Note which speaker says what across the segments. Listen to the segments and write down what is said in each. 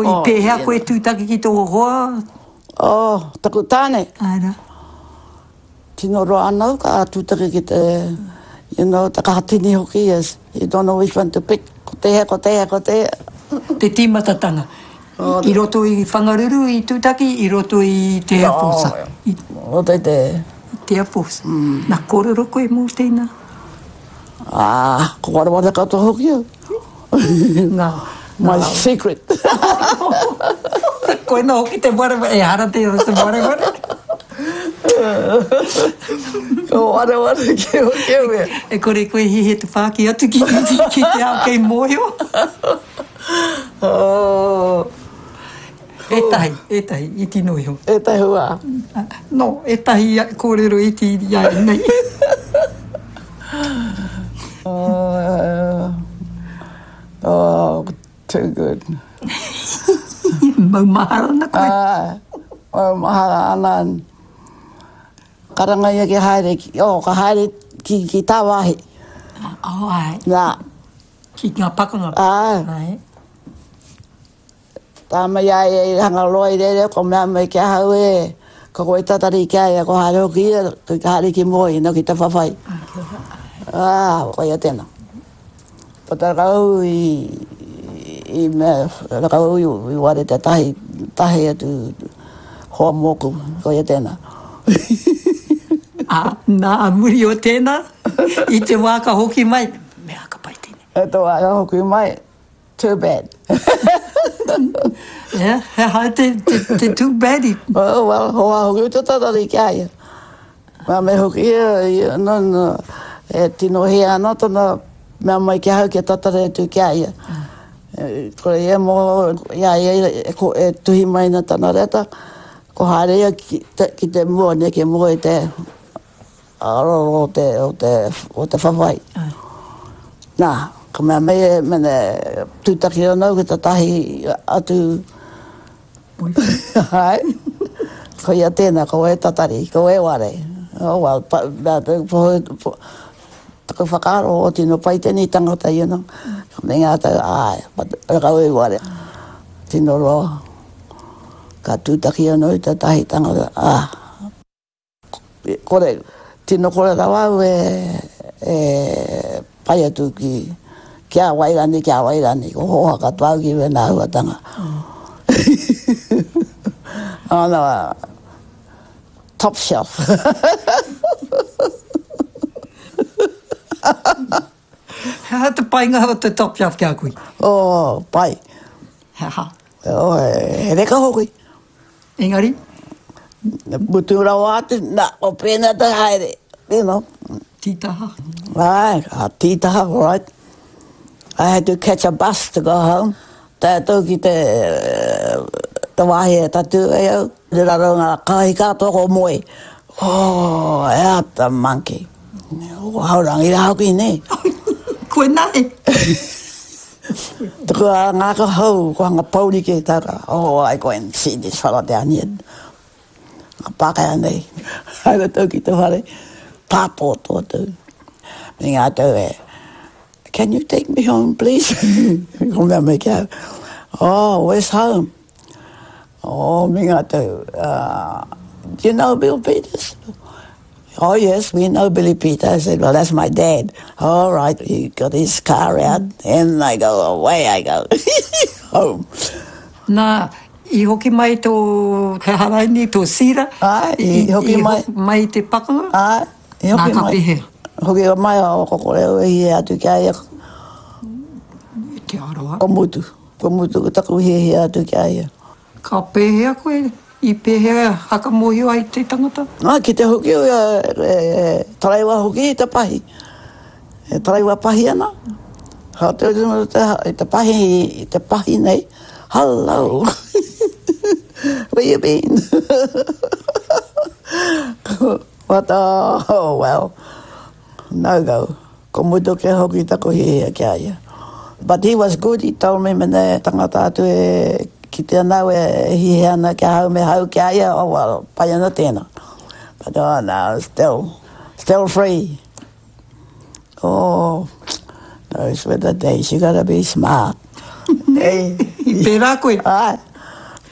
Speaker 1: I pēhea koe tūtaki ki tō hoa?
Speaker 2: Oh, taku tāne.
Speaker 1: Āe rā.
Speaker 2: Tino roa ana au ka tūtaki ki te, you know, te kaha tini hoki, yes. You don't know which one to pick. Ko tēhea, ko tēhea, ko tēhea.
Speaker 1: Te tīmatatanga. I roto i Whangaruru i tūtaki, i roto i te Air Force.
Speaker 2: I roto i te...
Speaker 1: Te Air Force. Nā, kōrero koe mō tēnā?
Speaker 2: Ā, ko wareware katoa hoki au.
Speaker 1: Ngā,
Speaker 2: My secret.
Speaker 1: Koina hoki te wareware, ehara tērā te wareware.
Speaker 2: Ko wareware ki hoki au e.
Speaker 1: E kore koe hihi te whāki atu ki, ki te ao kei mōhio.
Speaker 2: Oh.
Speaker 1: Ētahi, ētahi, iti noa iho.
Speaker 2: Ētahi wā.
Speaker 1: No, ētahi kōrero iti i a nei.
Speaker 2: Oh, oh, too good.
Speaker 1: Maumahara ana koe.
Speaker 2: Āe, maumahara ana. Karanga ia ki haere, oh, ka haere ki, ki tāwāhi.
Speaker 1: Oh, āe.
Speaker 2: Nā.
Speaker 1: Ki ngā pakanga.
Speaker 2: Āe.
Speaker 1: Āe.
Speaker 2: Tā mai a ia i hanga roa i reira, ko mea mai ki ahau e, ko koe tatari ki a ia, ko haere hoki ia, ko haere ki mua i no ki te whawhai. Ā, koia tēnā. Puta rau i, i mea, rau i, i ware te tahi, tahi atu hoa mōku, koia tēnā.
Speaker 1: Ā, nā, a muri o tēnā, i te wā ka hoki mai, mea ka pai tēnei.
Speaker 2: I te wā ka hoki mai, Too bad.
Speaker 1: Yeah, he aha te, te, te too bad i?
Speaker 2: Oh, well, hoa hoki te tatari ki a ia. Mea me hoki ia, ia, no, no, e tino hē ana tana mea mai ki ahau kia tatari atu ki a ia. E, kore ia mō, i a ia e, ko, e tuhi mai ana tana reta, ko haere ia ki te, ki te mua, ne, ki mua i te, Aroro o te, o te, o te whawhai. Nā, ka mea mai e mene tūtaki ana au ki tētahi atu Āe. Koia tēnā, ko e tatari, ko e ware. Oh well, pa, mea, po, taku whakaaro, o tino pai tēnei tangata, you know. Ka mea ngā tau, āe, but kau e ware. Tino roa. Ka tūtaki anō i tētahi tangata, ah. Kore, tino kore rawa au e, e pai atu ki, ki a wai rani, ki a wai rani, ko hoha katoa au ki wena ahuatanga. Oh no, top shelf.
Speaker 1: He aha te painga o te top shelf ki a koe?
Speaker 2: Oh, pai.
Speaker 1: He aha?
Speaker 2: Oh, he reka hoki.
Speaker 1: Engari?
Speaker 2: Mutu rawa atu, na, ko pēnā te haere, you know.
Speaker 1: Tītaha.
Speaker 2: Āe, ka tītaha, right. I had to catch a bus to go home. Tae atu ki te, te wāhi e tatū ai au, i raro ngā kāhi katoa ko moe. Oh, out the monkey. Ko Haurangi rā hoki, nē?
Speaker 1: Koinā e.
Speaker 2: Tuku a ngā hou, ko hanga pouri ke tara. Oh, I go and see this fella down here. Nga Pākehā nei, haere tau ki te whare, pātōtō atu. Me ngā tau e, can you take me home, please? Ko mea mai ki au, oh, where's home? Oh, me ngā tau, uh, do you know Bill Peters? Oh yes, we know Billy Peter. I said, well, that's my dad. All right, he got his car out and I go, away I go. Home.
Speaker 1: Nā, i hoki mai tō, he aha raini, tō Sira?
Speaker 2: Āe, i hoki mai.
Speaker 1: I hoki mai i te pakanga?
Speaker 2: Āe, i hoki mai.
Speaker 1: Nā, ka pēhea?
Speaker 2: Hoki mai a ko kore au e hia atu ki a ia.
Speaker 1: Te aroha.
Speaker 2: Ko mutu, ko mutu ko taku hiahia atu ki a ia.
Speaker 1: Ka pēhea koe? I pēhea whakamōhio ai te tangata?
Speaker 2: Ā, ki te hoki au e taraiwa hoki i te pahi. E taraiwa pahi ana. Ka te i te pahi, i te pahi nei, Hello! Where you been? But, oh, well, no go. Ko mutu ke hoki taku hiahia ki a ia. But he was good, he told me mena e tangata atu e kite ana au e hiahia ana ki ahau me hau ki a ia, oh well, pai ana tēnā. But oh no, still, still free. Oh, those were the days, you gotta be smart. Hey.
Speaker 1: I pērā koe?
Speaker 2: Āe,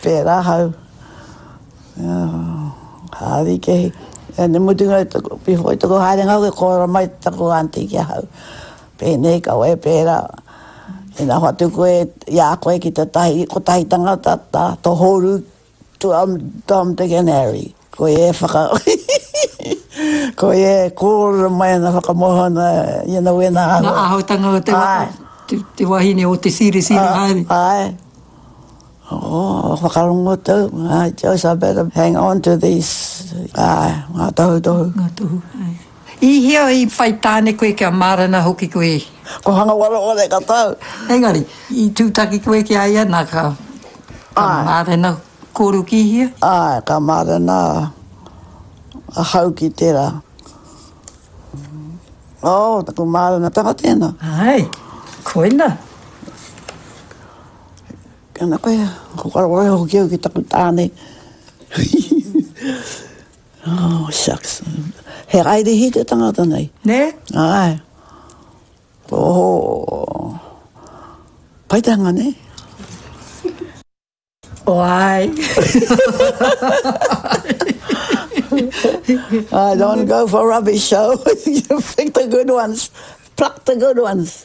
Speaker 2: pērā ahau. Harikehi. And te mutunga i taku, before i taku haerenga hoki, kōrero mai taku aunty ki ahau. Pēnei, kaua e pērā. Ina hoatu koe i a koe ki tētahi, kotahi tangata, tā, tohoru Tom, Tom, Dick and Harry. Ko ia e whaka... ko ia e kōrero mai ana whakamoho ana i ana wena āhua.
Speaker 1: Ngā āhuatanga o te, te, te wahine o te sirisiri haere.
Speaker 2: Āe. Oh, whakarongo tau. I just I better hang on to these. Āe, ngā tohutohu.
Speaker 1: Ngā tohu, āe. I hea i whai tāne koe kia mārena hoki koe?
Speaker 2: Ko Hangawareware ka tau.
Speaker 1: Engari, i tūtaki koe ki a ia, nā ka, ka mārena kōrua ki hea?
Speaker 2: Āe, ka mārena ahau ki tērā. Oh, taku mārenatanga tēnā.
Speaker 1: Āe, koina.
Speaker 2: Tēnā koe, ko Wareware hoki au ki taku tāne. Oh, shucks. He Airihi te tangata nei.
Speaker 1: Nē?
Speaker 2: Āe. Oh, pai te hanga, nē?
Speaker 1: Oh, āe.
Speaker 2: I don't go for rubbish, so you pick the good ones. Pluck the good ones.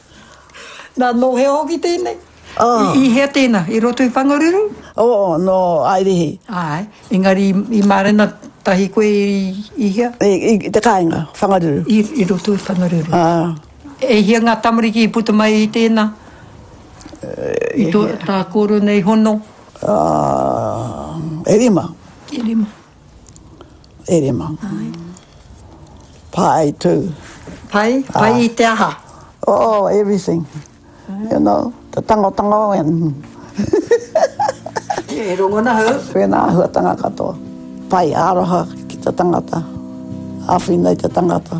Speaker 1: Nā, nō hea hoki tēnei? Oh. I, i hea tēnā? I roto i Whangaruru?
Speaker 2: Oh, nō Airihi.
Speaker 1: Āe, engari i, i mārena tahi koe i, i hea?
Speaker 2: I, i, i te kāinga, Whangaruru.
Speaker 1: I, i roto i Whangaruru.
Speaker 2: Ā.
Speaker 1: E hia ngā tamariki i puta mai i tēnā? I tō, tā kōrua nei hono?
Speaker 2: Uh, e rima.
Speaker 1: E rima.
Speaker 2: E rima.
Speaker 1: Ai.
Speaker 2: Pai too.
Speaker 1: Pai? Pai i te aha?
Speaker 2: Oh, everything. You know, te tangotango and...
Speaker 1: E rongona hau.
Speaker 2: Wēnā āhuatanga katoa. Pai, aroha ki te tangata. Āwhina i te tangata.